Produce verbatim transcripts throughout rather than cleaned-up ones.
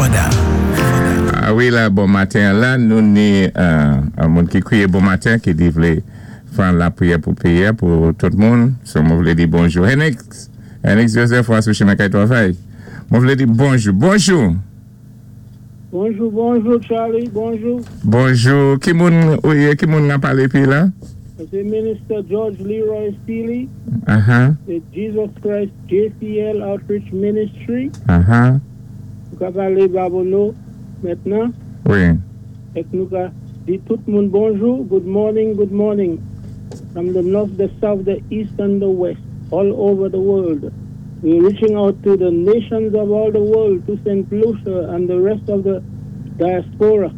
Fada. A wi la, bon maten la, nou ni euh, moun ki kwiyé bon maten, ki di vlé fè lapwiyè pou péyi, pou tout moun. So, mwen vlé di bonjou. Henix, Henix Joseph, ou sou chimen kay twavay. Mwen vlé di bonjou. Bonjou. Bonjou, bonjou Charlie, bonjou. Bonjou. Ki moun, wi, ki moun n ap palé pi la? Sé Minister George Leroy Sealy, Uh-huh. the Jesus Christ J C L Outreach Ministry. Uh-huh. Nou ka palé Babonneau mentnan. Wi. Èk nou ka di tout moun bonjou, good morning, good morning. From the north, the south, the east, and the west, all over the world. We're reaching out to the nations of all the world, to Saint Lucia and the rest of the diaspora.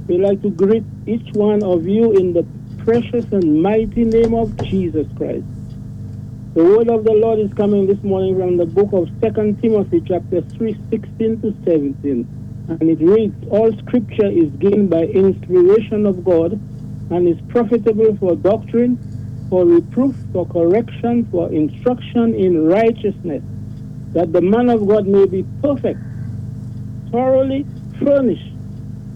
We like to greet each one of you in the precious and mighty name of Jesus Christ. The word of the Lord is coming this morning from the book of Second Timothy chapter three, sixteen to seventeen. And it reads, "All scripture is given by inspiration of God and is profitable for doctrine, for reproof, for correction, for instruction in righteousness, that the man of God may be perfect, thoroughly furnished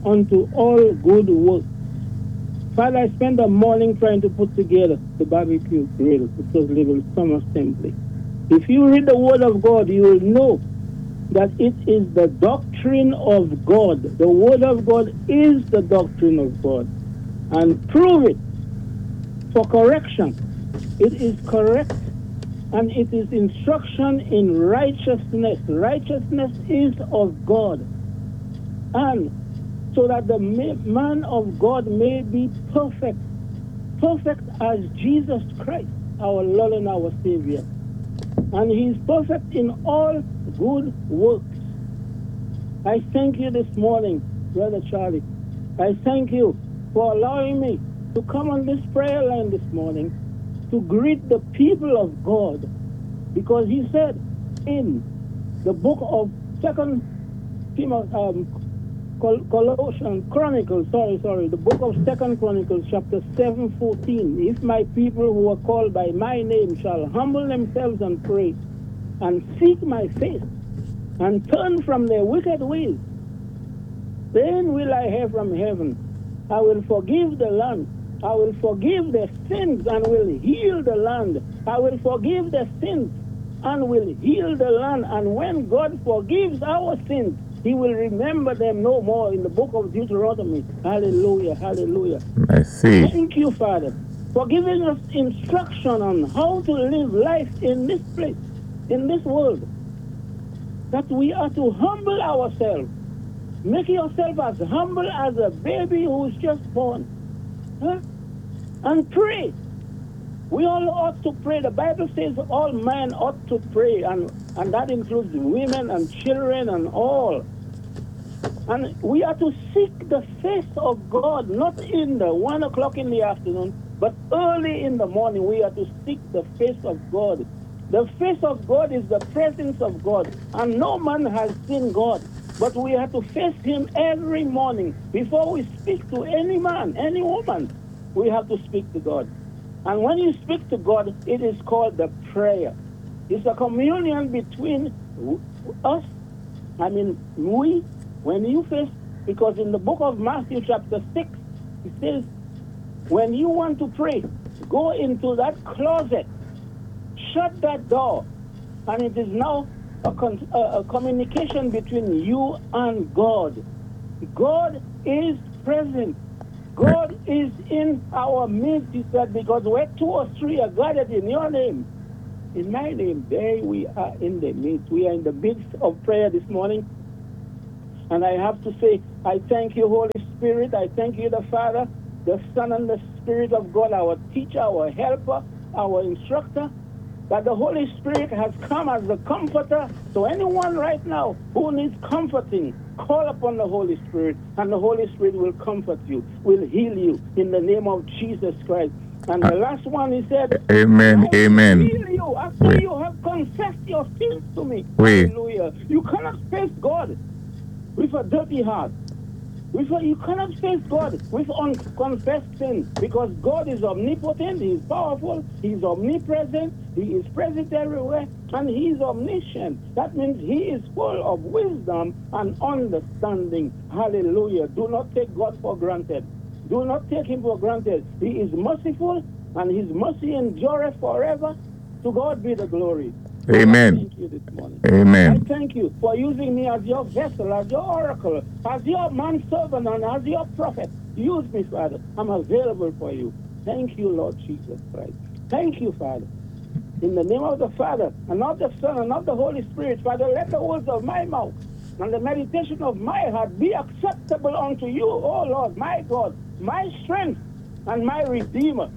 unto all good works." Father, I spent the morning trying to put together the barbecue grill because little summer assembly. If you read the Word of God, you will know that it is the doctrine of God. The Word of God is the doctrine of God. And prove it for correction. It is correct and it is instruction in righteousness. Righteousness is of God. And so that the man of God may be perfect, perfect as Jesus Christ, our Lord and our Savior. And he is perfect in all good works. I thank you this morning, Brother Charlie. I thank you for allowing me to come on this prayer line this morning to greet the people of God. Because he said in the book of Second Timothy, um, Colossians, Chronicles, sorry, sorry, the book of Second Chronicles, chapter seven, fourteen. "If my people who are called by my name shall humble themselves and pray and seek my face and turn from their wicked ways, then will I hear from heaven. I will forgive the land. I will forgive their sins and will heal the land. I will forgive their sins and will heal the land." And when God forgives our sins, he will remember them no more in the book of Deuteronomy. Hallelujah, hallelujah. I see. Thank you, Father, for giving us instruction on how to live life in this place, in this world. That we are to humble ourselves. Make yourself as humble as a baby who's just born. Huh? And pray. We all ought to pray. The Bible says all men ought to pray, and, and that includes women and children and all. And we are to seek the face of God, not in the one o'clock in the afternoon, but early in the morning. We are to seek the face of God. The face of God is the presence of God, and no man has seen God. But we have to face him every morning. Before we speak to any man, any woman, we have to speak to God. And when you speak to God, it is called the prayer. It's a communion between us, I mean, we, when you face, because in the book of Matthew, chapter six, it says, when you want to pray, go into that closet, shut that door, and it is now a, con- a, a communication between you and God. God is present. God is in our midst, he said, because where two or three are gathered in your name, in my name, there we are in the midst. We are in the midst of prayer this morning. And I have to say, I thank you, Holy Spirit. I thank you, the Father, the Son, and the Spirit of God, our teacher, our helper, our instructor, that the Holy Spirit has come as the comforter. So anyone right now who needs comforting, call upon the Holy Spirit, and the Holy Spirit will comfort you, will heal you in the name of Jesus Christ. And the last one, he said, Amen, "I will amen. heal you after Wi. you have confessed your sins to me." Wi. Hallelujah. You cannot face God with a dirty heart. With, you cannot face God with unconfessed sin because God is omnipotent, He is powerful, He is omnipresent, He is present everywhere, and He is omniscient. That means He is full of wisdom and understanding. Hallelujah. Do not take God for granted. Do not take Him for granted. He is merciful, and His mercy endureth forever. To God be the glory. Amen. I thank you this morning. Amen. I thank you for using me as your vessel, as your oracle, as your manservant, and as your prophet. Use me, Father. I'm available for you. Thank you, Lord Jesus Christ. Thank you, Father. In the name of the Father, and of the Son, and of the Holy Spirit, Father, let the words of my mouth and the meditation of my heart be acceptable unto you, O Lord, my God, my strength, and my Redeemer.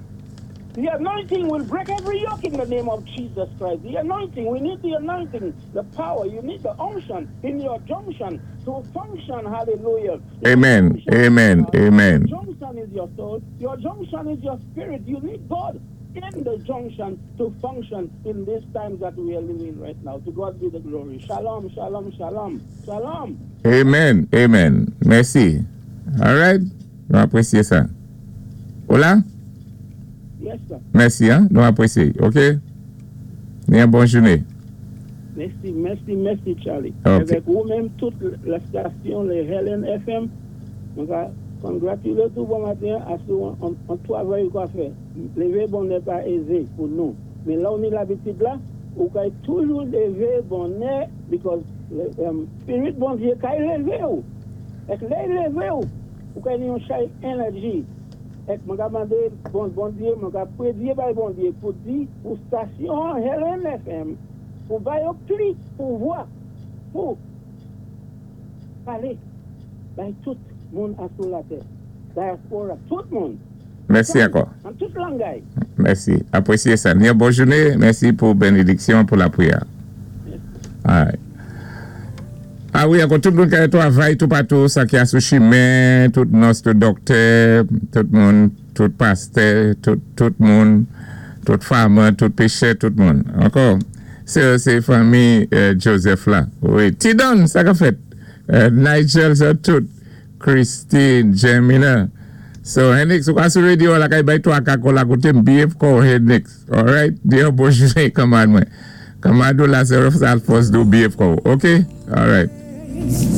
The anointing will break every yoke in the name of Jesus Christ. The anointing, we need the anointing, the power. You need the unction in your junction to function. Hallelujah. Your Amen. junction, Amen. uh, Amen. Your junction is your soul. Your junction is your spirit. You need God in the junction to function in these times that we are living right now. To God be the glory. Shalom, shalom, shalom, shalom. Amen. Amen. Mèsi. All right. Nou apwésyé sa. Hola? Yes, sir. Mèsi, hein? Nou apwésyé. OK? Ni yon bon jouné. Mèsi, mèsi, mèsi, Charlie. Ok. Avèk ou-menm, tout la station, les Helen F M, mwen ka kongratilé tou bon maten a sou an, an twavay ou ka fè. Lévé bonnè pa ézé pou nou. Men la ou ni labitid la, ou kay toujou lévé bonnè because um, spirit Bondyé kay lévé ou. Èk lè lévé ou, ou kay ni yon chay énèji. Èk mwen ka mandé bon Bondyé, mwen ka pwédyé bay Bondyé pou di pou stasyon Helen F M pou bay yo pli pouvwa pou palé bay tout moun asou latè. Dyaspora, tout moun. Mèsi ankò. An tout langay. Mèsi. Apwésyé sa. Ni yon bon jouné. Mèsi pou bénédiksyon, pou lapwiyè. All right. Ah wi, ankò tout moun ki twavay tout patou, sa ki asou chimen, tout nòs, tout dòktè, tout moun, tout pastè, tout, tout moun, tout farmer, tout péchè, tout moun. Ankò, sé sé fanmi euh, Joseph la. Wi, Tidon, sa ka fèt. Euh, Nigel, sa tout. Christine, Jemina. So, Henix, ou asou radio la kay bay twa kako la koté m behave ko Henix. All right? Di yon bon jouné, kanmad mwen. Kanmad ou la se rof sa al fòs do behave ko. OK? All right.